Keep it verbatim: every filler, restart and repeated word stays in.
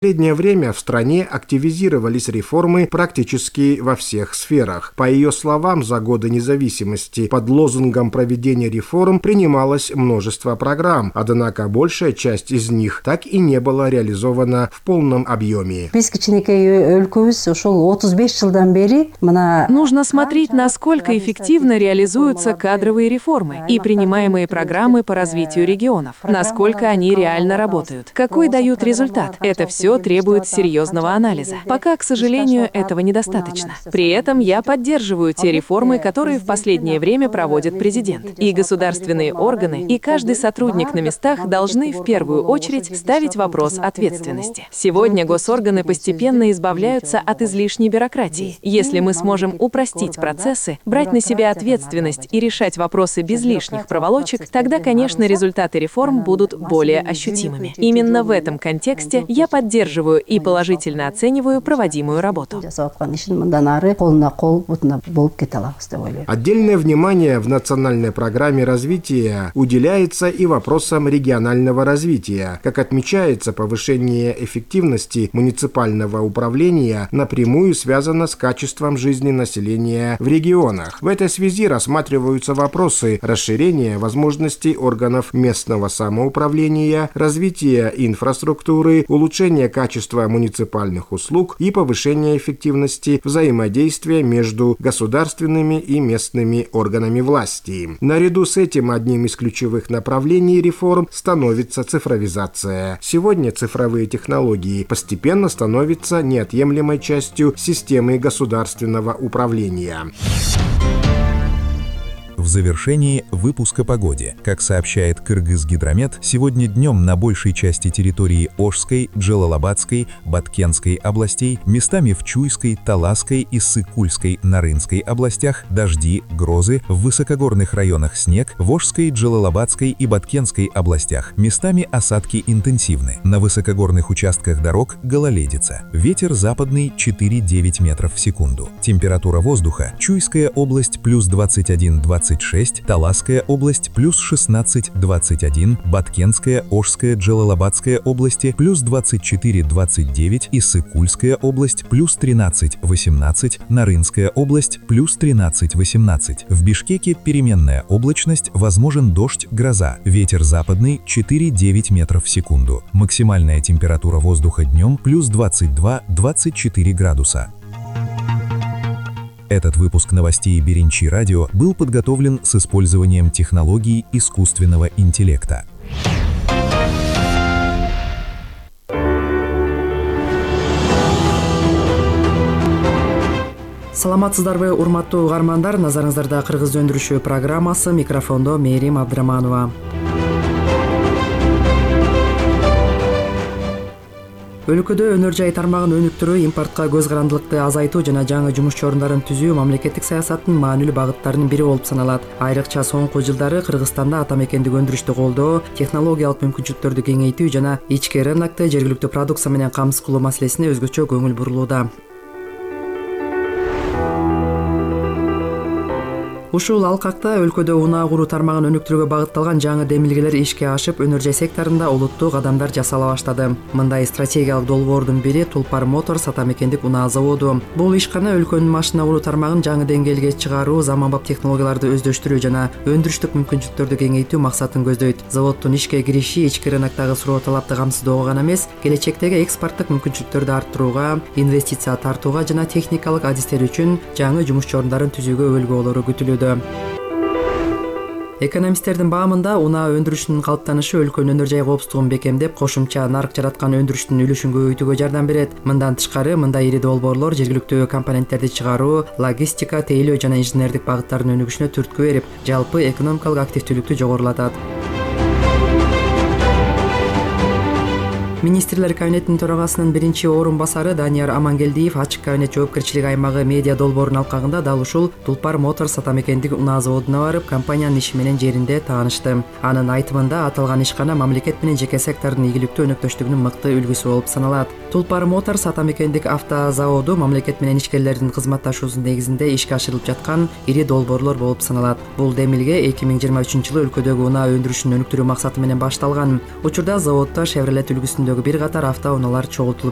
В последнее время в стране активизировались реформы практически во всех сферах. По ее словам, за годы независимости под лозунгом проведения реформ принималось множество программ, однако большая часть из них так и не была реализована в полном объеме. Нужно смотреть, насколько эффективно реализуются кадровые реформы и принимаемые программы по развитию регионов, насколько они реально работают, какой дают результат. Это все требует серьезного анализа. Пока, к сожалению, этого недостаточно. При этом я поддерживаю те реформы, которые в последнее время проводит президент. И государственные органы, и каждый сотрудник на местах должны в первую очередь ставить вопрос ответственности. Сегодня госорганы постепенно избавляются от излишней бюрократии. Если мы сможем упростить процессы, брать на себя ответственность и решать вопросы без лишних проволочек, тогда, конечно, результаты реформ будут более ощутимыми. Именно в этом контексте я поддерживаю и положительно оцениваю проводимую работу. Отдельное внимание в национальной программе развития уделяется и вопросам регионального развития. Как отмечается, повышение эффективности муниципального управления напрямую связано с качеством жизни населения в регионах. В этой связи рассматриваются вопросы расширения возможностей органов местного самоуправления, развития инфраструктуры, улучшения качества муниципальных услуг и повышения эффективности взаимодействия между государственными и местными органами власти. Наряду с этим одним из ключевых направлений реформ становится цифровизация. Сегодня цифровые технологии постепенно становятся неотъемлемой частью системы государственного управления. В завершении выпуска погоде. Как сообщает Кыргызгидромет, сегодня днем на большей части территории Ошской, Джалалабадской, Баткенской областей, местами в Чуйской, Таласской и Сыкульской, Нарынской областях дожди, грозы, в высокогорных районах снег, в Ошской, Джалалабадской и Баткенской областях местами осадки интенсивны. На высокогорных участках дорог гололедица. Ветер западный четыре-девять метров в секунду. Температура воздуха: Чуйская область плюс двадцать один — двадцать шесть, Таласская область плюс шестнадцать — двадцать один, Баткенская, Ошская, Джалалабадская области плюс двадцать четыре — двадцать девять и Сыкульская область плюс тринадцать — восемнадцать, Нарынская область плюс тринадцать — восемнадцать. В Бишкеке переменная облачность, возможен дождь, гроза. Ветер западный четыре-девять метров в секунду. Максимальная температура воздуха днем плюс двадцать два — двадцать четыре градуса. Этот выпуск новостей Беренчи Радио был подготовлен с использованием технологий искусственного интеллекта. Саламатсыздарбы, урматтуу угармандар, назарыңыздарда Кыргыз өндүрүшү программасы, микрофондо Мээрим Абдыраманова. Өлкөдө өнөр жай тармагын өнүктүрүү, импортко көз карандылыкты азайтуу жана жаңы жумуш орундарын түзүү мамлекеттик саясаттын маанилүү багыттарынын бири болуп саналат. Айрыкча соңку жылдары Кыргызстанда атамекендик өндүрүштү колдоо, технологиялык мүмкүнчүлүктөрдү кеңейтүү жана ички рынокто жергиликтүү продукция менен камсыз кылуу маселесине өзгөчө көңүл бурулууда. Ушул алкакта өлкөдө унаа куруу тармагын өнүктүрүүгө багытталган жаңы демилгелер ишке ашып, өнөр жай секторунда олуттуу кадамдар жасала баштады. Мындай стратегиялык долбоордун бири Тулпар Моторс атамекендик унаа заводу. Бул ишкана өлкөнүн машина куруу тармагын жаңы деңгээлге чыгаруу, заманбап технологияларды өздөштүрүү жана өндүрүштүк мүмкүнчүлүктөрдү кеңейтүү максатын көздөйт. Заводдун ишке кириши ички рыноктогу суроо талапты камсыздоого гана эмес, келечектеги экспорттук мүмкүнчүлүктөрдү арттырууга, инвестиция тартууга жана техникалык адистер үчүн жаңы жумуш орундарын түзүүгө өлгү болору күтүлүүдө. Экономисттердин баамында унаа өндүрүшүнүн калыптанышы өлкөнүн өнөр жай коопсуздугун бекемдеп, кошумча нарк жараткан өндүрүштүн үлүшүн көбөйтүүгө жардам берет. Мындан тышкары, мындай ири долбоорлор жергиликтүү компоненттерди чыгаруу, логистика, тейлөө жана инженердик багыттардын өнүгүшүнө түрткү берип, жалпы экономикалык активдүүлүктү жогорулатат. Министрлер кабинетинин төрагасынын биринчи орун басары Данияр Амангелдиев ачык кабинет жоопкерчилиги аймагы медиа долбоорунун алкагында дал ушул Тулпар Моторс атамекендик унаа заводуна барып, компаниянын иши менен жеринде таанышты. Анын айтымында аталган ишкана мамлекет менен жеке сектордун ийгиликтүү өнөктөштүгүнүн мыкты үлгүсү болуп саналат. Тулпар Моторс атамекендик автозаводу мамлекет менен ишкерлердин кызматташуусунун негизинде ишке ашырылып жаткан ири долбоорлор болуп саналат. Бул демилге эки миң жыйырма үчүнчү жылы өлкөдөгү унаа өндүрүшүн өнүктүрүү максаты менен башталган. Учурда заводдо Chevrolet үлгүсүндө жөнүндөгү бир катар автоунаалар чогултулуп